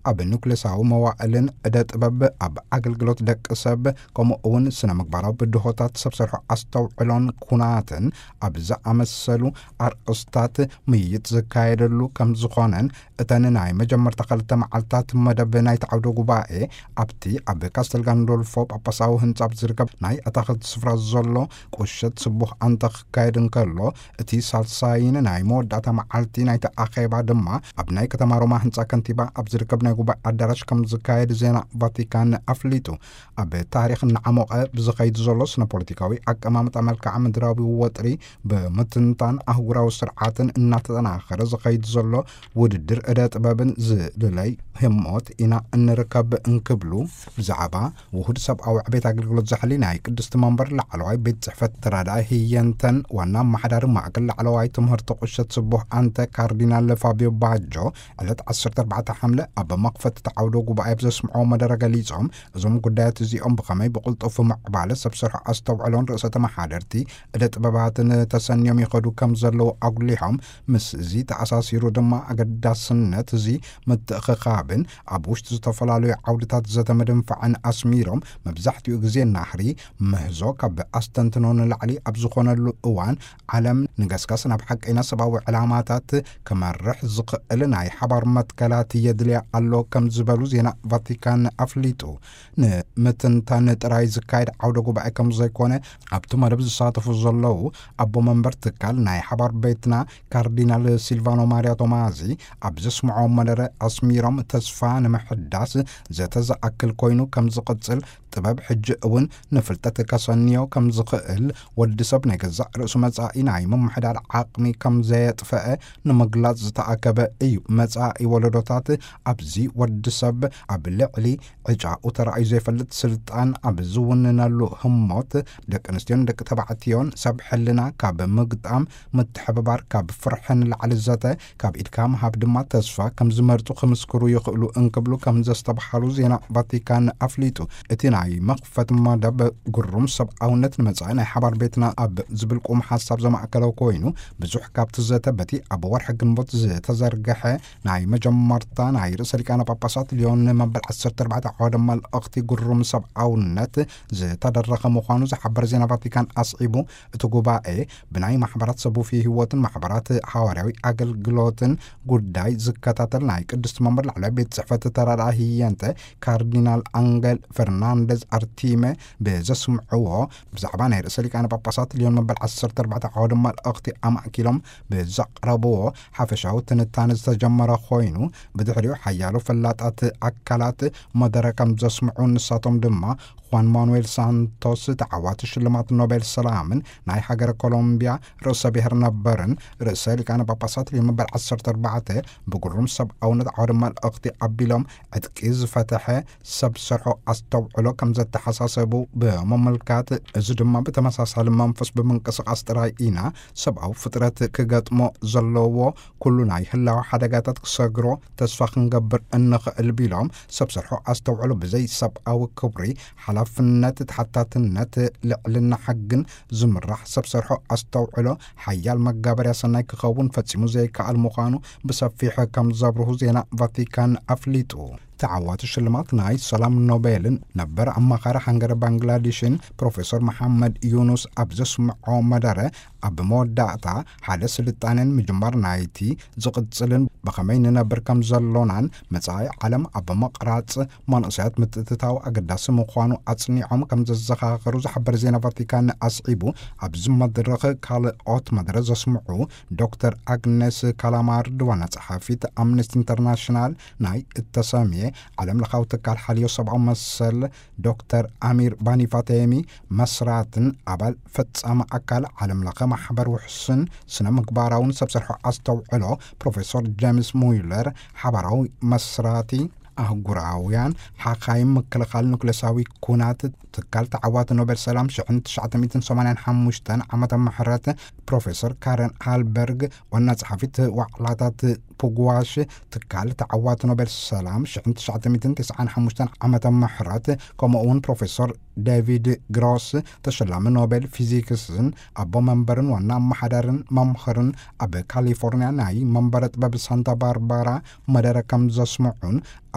ኣብ ኑክሌሳዊ መዋእልን ዕደ ጥበብ፣ ኣብ ኣገልግሎት ደቂ ሰብ፣ ከምኡ እውን ስነ ምግባራዊ ብድሆታት፣ ሰብ ሰርሖ ኣስተውዕሎን ኩናትን ኣብ ዝኣመሰሉ ኣርእስታት ምይይጥ ዝካየደሉ ከም ዝኾነን፣ እተን ናይ መጀመርታ ክልተ መዓልታት መደብ ናይቲ ዓውደ ጉባኤ ኣብቲ ኣብ ካስተል ጋንዶልፎ ጳጳሳዊ ህንጻ ኣብ ዝርከብ ናይ ኣታኽልቲ ስፍራ ዘሎ ቁሸት ስቡሕ ኣንተ ክካየድ እንከሎ፣ እቲ ሳልሳይን ናይ መወዳእታ መዓልቲ ናይቲ ኣኼባ ድማ ኣብ ናይ ከተማ ሮማ ህንጻ ከንቲባ ኣብ ዝርከብ ናይ ጉባኤ ኣዳራሽ ከም ዝካየድ ዜና ቫቲካን ኣፍሊጡ። ኣብ ታሪኽ እናዓሞቐ ብዝኸይድ ዘሎ ስነ ፖለቲካዊ ኣቀማምጣ፣ መልክዓ ምድራዊ ወጥሪ ብምትንታን፣ ኣህጉራዊ ስርዓትን እናተጠናኸረ ዝኸይድ ዘሎ ውድድር ዕደ ጥበብን ዝልለይ ህሞት ኢና እንርከብ እንክብሉ፣ ብዛዕባ ውሁድ ሰብኣዊ ዕቤት ኣገልግሎት ዛሕሊ ናይ ቅድስቲ መንበር ላዕለዋይ ቤት ጽሕፈት ተራዳኢ ህየንተን ዋና ኣመሓዳሪ ማእከል ላዕለዋይ ትምህርቲ ቁሸት ስቡሕ ኣንተ ካርዲናል ፋቢዮ ባጆ ዕለት ዓሰርተ ኣርባዕተ ሓምለ ኣብ መኽፈቲ ዓውደ ጉባኤ ብዘስምዖ መደረ ገሊጾም፣ እዞም ጉዳያት እዚኦም ብኸመይ ብቕልጡፍ ምዕባለ ሰብ ሰርሖ ኣስተውዕሎን ርእሰ ተመሓደርቲ ዕደ ጥበባትን ተሰንዮም ይኸዱ ከም ዘለዉ ኣጉሊሖም፣ ምስ እዚ ተኣሳሲሩ ድማ ኣገዳስነት እዚ ምትእኽኻብን ኣብ ውሽጢ ዝተፈላለዩ ዓውድታት ዘተ ምድንፋዕን ኣስሚሮም፣ መብዛሕትኡ ግዜ ናህሪ ምህዞ ካብ ኣስተንትኖ ንላዕሊ ኣብ ዝኾነሉ እዋን፣ ዓለም ንገስጋስ ናብ ሓቀይና ሰብኣዊ ዕላማታት ክመርሕ ዝኽእል ናይ ሓባር መትከላት የድልያ ኣሎ ከም ዝበሉ ዜና ቫቲካን ኣፍሊጡ። ንምትንታን ጥራይ ዝካየድ ዓውደ ጉባኤ ከም ዘይኮነ፣ ኣብቲ መደብ ዝሳተፉ ዘለዉ ኣቦ መንበር ትካል ናይ ሓባር ቤትና ካርዲናል ሲልቫኖ ማርያ ቶማዚ ኣብ ዘስምዖ መደረ ኣስሚሮም፣ ተስፋ ንምሕዳስ ዘተ ዝኣክል ኮይኑ ከም ዝቕጽል፣ ጥበብ ሕጂ እውን ንፍልጠት ከሰንዮ ከም ዝኽእል፣ ወዲ ሰብ ናይ ገዛእ ርእሱ መጻኢ ናይ ምምሕዳር ዓቕሚ ከም ዘየጥፈአ ንምግላጽ ዝተኣከበ እዩ። መጻኢ ወለዶታት ኣብዚ ወዲ ሰብ ኣብ ልዕሊ ዕጫኡ ተራእዩ ዘይፈልጥ ስልጣን ኣብ ዝውንነሉ ህሞት፣ ደቂ ኣንስትዮን ደቂ ተባዕትዮን ሰብ ሕልና ካብ ምግጣም፣ ምትሕብባር ካብ ፍርሒ ንላዕሊ ዘተ፣ ካብ ኢድካ ምሃብ ድማ ተስፋ ከም ዝመርጹ ክምስክሩ ይኽእሉ እንክብሉ ከም ዘስተብሃሉ ዜና ቫቲካን ኣፍሊጡ። እቲ ናይ መኽፈት መደብ ግሩም ሰብኣውነት ንመጻኢ ናይ ሓባር ቤትና ኣብ ዝብል ቁም ሓሳብ ዘማእከለ ኮይኑ፣ ብዙሕ ካብቲ ዘተ በቲ ኣብ ወርሒ ግንቦት ዝተዘርግሐ ናይ መጀመርታ ናይ ርእሰ ሊቃነ ጳጳሳት ሊዮን መበል ዓሰርተ ኣርባዕተ ዓወደ መልእኽቲ ግሩም ሰብኣውነት ዝተደረኸ ምዃኑ ዝሓበር ዜና ቫቲካን ኣስዒቡ፣ እቲ ጉባኤ ብናይ ማሕበራት ሰቡፊ ህይወትን ማሕበራት ሃዋርያዊ ኣገልግሎትን ጉዳይ ዝከታተል ናይ ቅድስቲ መንበር ላዕለዋይ ቤት ጽሕፈት ተራዳኢ ህየንተ ካርዲናል ኣንገል ፈርናንደዝ ኣርቲመ ብዘስምዕዎ፣ ብዛዕባ ናይ ርእሰ ሊቃነ ጳጳሳት ሊዮን መበል ዓሰርተ ኣርባዕተ ዓወደ መልእኽቲ ኣማእኪሎም ብዘቕረብዎ ሓፈሻዊ ትንታነ ዝተጀመረ ኮይኑ፣ ብድሕሪኡ ሓያሎ ፈላጣት ኣካላት መደረ ከም ዘስምዑ፣ ንሳቶም ድማ ኳን ማኑኤል ሳንቶስ፣ ተዓዋቲ ሽልማት ኖቤል ሰላምን ናይ ሃገረ ኮሎምቢያ ርእሰ ብሔር ነበርን፣ ርእሰ ሊቃነ ጳጳሳት ሊዮን መበል ዓሰርተ ኣርባዕተ ብግሩም ሰብኣውነት ዓወደ መልእኽቲ ኣቢሎም፣ ዕጥቂ ዝፈተሐ ሰብ ሰርሖ ኣስተውዕሎ ከም ዘተሓሳሰቡ ብምምልካት፣ እዚ ድማ ብተመሳሳሊ መንፈስ ብምንቅስቓስ ጥራይ ኢና ሰብኣዊ ፍጥረት ክገጥሞ ዘለዎ ኩሉ ናይ ህላወ ሓደጋታት ክሰግሮ ተስፋ ክንገብር እንኽእል ቢሎም፣ ሰብ ሰርሖ ኣስተውዕሎ ብዘይ ሰብኣዊ ክብሪ፣ ሓላፍነት፣ ተሓታትነት፣ ልዕልና ሕግን ዝምራሕ ሰብ ሰርሖ ኣስተውዕሎ ሓያል መጋበርያ ሰናይ ክኸውን ፈጺሙ ዘይከኣል ምዃኑ ብሰፊሕ ከም ዘብርሁ ዜና ቫቲካን ኣፍሊጡ። ተዓዋቲ ሽልማት ናይ ሰላም ኖቤልን ነበር ኣማኻሪ ሃንገሪ ባንግላዴሽን ፕሮፌሰር መሓመድ ዩኑስ ኣብ ዘስምዖ መደረ፣ ኣብ መወዳእታ ሓደ ስልጣኔን ምጅማር ናይቲ ዝቕጽልን ብኸመይ ንነብር ከም ዘሎናን መጻኢ ዓለም ኣብ ምቕራጽ መንእሰያት ምትእትታው ኣገዳሲ ምዃኑ ኣጽኒዖም ከም ዘዘኻኸሩ ዝሓበር ዜና ቫቲካን ኣስዒቡ፣ ኣብዚ መድረኽ ካልኦት መደረ ዘስምዑ ዶክተር ኣግነስ ካላማርድ ዋና ጸሓፊት ኣምነስቲ ኢንተርናሽናል፣ ናይ እተሰምየ ዓለም ለኻዊ ትካል ሓልዮ ሰብኣዊ መሰል ዶክተር ኣሚር ባኒፋቴሚ መስራትን ኣባል ፈጻሚ ኣካል ዓለም ለኸ ማሕበር ውሕስን ስነ ምግባራውን ሰብ ሰርሖ ኣስተውዕሎ ፕሮፌሰር ጀምስ ሙይለር ሓባራዊ መስራቲ ኣህጉራውያን ሓኻይም ምክልኻል ኑክሌሳዊ ኩናት ትካል ተዓዋቲ ኖቤል ሰላም ሽሕን ትሽዓተ ሚእትን ሰማንያን ሓሙሽተን ዓመተ ምሕረት ፕሮፌሰር ካረን ሃልበርግ ዋና ጸሓፊት ዋዕላታት ፑግዋሽ ትካል ተዓዋቲ ኖቤል ሰላም ሽሕን ትሽዓተ ሚእትን ተስዓን ሓሙሽተን ዓመተ ምሕረት፣ ከምኡ እውን ፕሮፌሰር ዴቪድ ግሮስ ተሸላሚ ኖቤል ፊዚክስን ኣቦ መንበርን ዋና ኣመሓዳርን መምህርን ኣብ ካሊፎርኒያ ናይ መንበረ ጥበብ ሳንታ ባርባራ መደረ ከም ዘስምዑን